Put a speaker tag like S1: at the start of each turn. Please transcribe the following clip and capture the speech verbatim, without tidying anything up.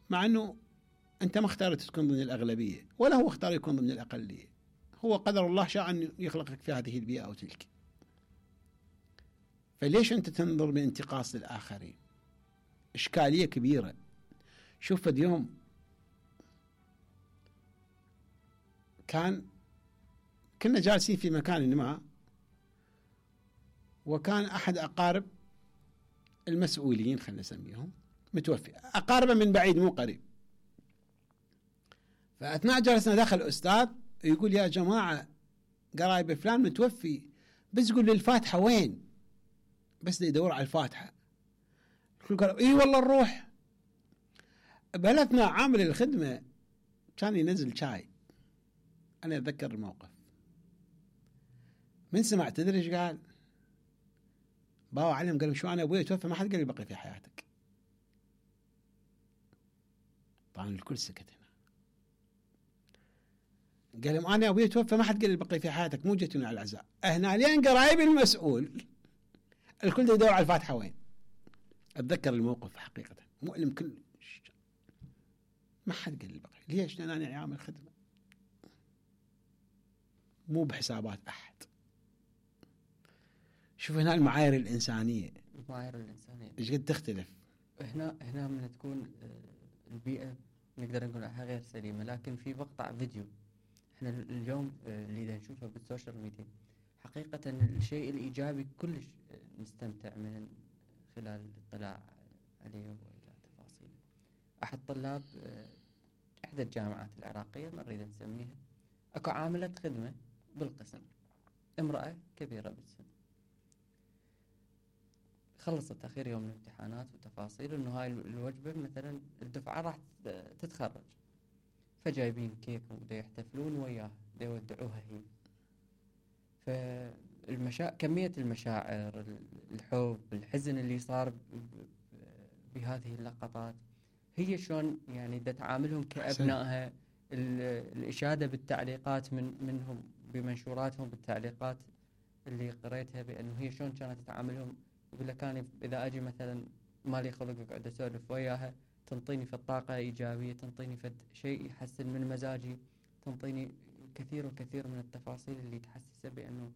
S1: مع أنه أنت ما اختارت تكون ضمن الأغلبية ولا هو اختار يكون ضمن الأقلية، هو قدر الله شاء أن يخلقك في هذه البيئة أو تلك. فليش أنت تنظر بانتقاص للآخرين؟ إشكالية كبيرة. شوف اليوم كان كنا جالسين في مكان ما، وكان أحد أقارب المسؤولين خلنا نسميهم متوفي، أقاربه من بعيد مو قريب. فأثناء جلسنا دخل أستاذ يقول يا جماعة قرايب فلان متوفي، بس يقول لي الفاتحة وين؟ بس يدور على الفاتحة. الكل قالوا إيه والله نروح. بهالأثناء عامل الخدمة كان ينزل شاي، أنا أتذكر الموقف. من سمع تدري ايش قال؟ باو علم قال شو أنا أبوي توفى ما حد قال لي بقي في حياتك. طبعا الكل سكت هنا. قال لهم أنا أبوي توفى ما حد قال لي بقي في حياتك، مو جيتوني على العزاء. هنا لين قرايب المسؤول الكل يدور على الفاتحة وين. أتذكر الموقف حقيقة مؤلم كل ما حد قال لي بقي. ليش؟ لأن أنا عامل خدمة مو بحسابات أحد. شوف هنا المعايير الإنسانية،
S2: المعايير الإنسانية
S1: إيش قد تختلف.
S2: هنا هنا من تكون البيئة نقدر نقول عنها غير سليمة. لكن في مقطع فيديو احنا اليوم اللي نشوفه بالسوشيال ميديا حقيقة الشيء الإيجابي كلش نستمتع من خلال الاطلاع عليه وإلى تفاصيله. أحد طلاب إحدى الجامعات العراقية ما نريد نسميها، أكو عاملة خدمة بالقسم، امرأة كبيرة بالسن، خلصت أخير يوم الامتحانات وتفاصيل إنه هاي الوجبة مثلا الدفعة راح تتخرج، فجايبين كيك ودا يحتفلون وياها دا يودعوها هي. فالمشا... كمية المشاعر، الحب، الحزن اللي صار بهذه اللقطات هي شلون يعني دا تعاملهم كأبنائها. الإشادة بالتعليقات من منهم بمنشوراتهم بالتعليقات اللي قريتها بأنه هي شلون كانت تتعاملهم. يقول لك أنا إذا أجي مثلا مالي خلق أقعد أسولف وياها تنطيني في الطاقة إيجابية، تنطيني في شيء يحسن من مزاجي، تنطيني كثير وكثير من التفاصيل اللي تحسسه بأنه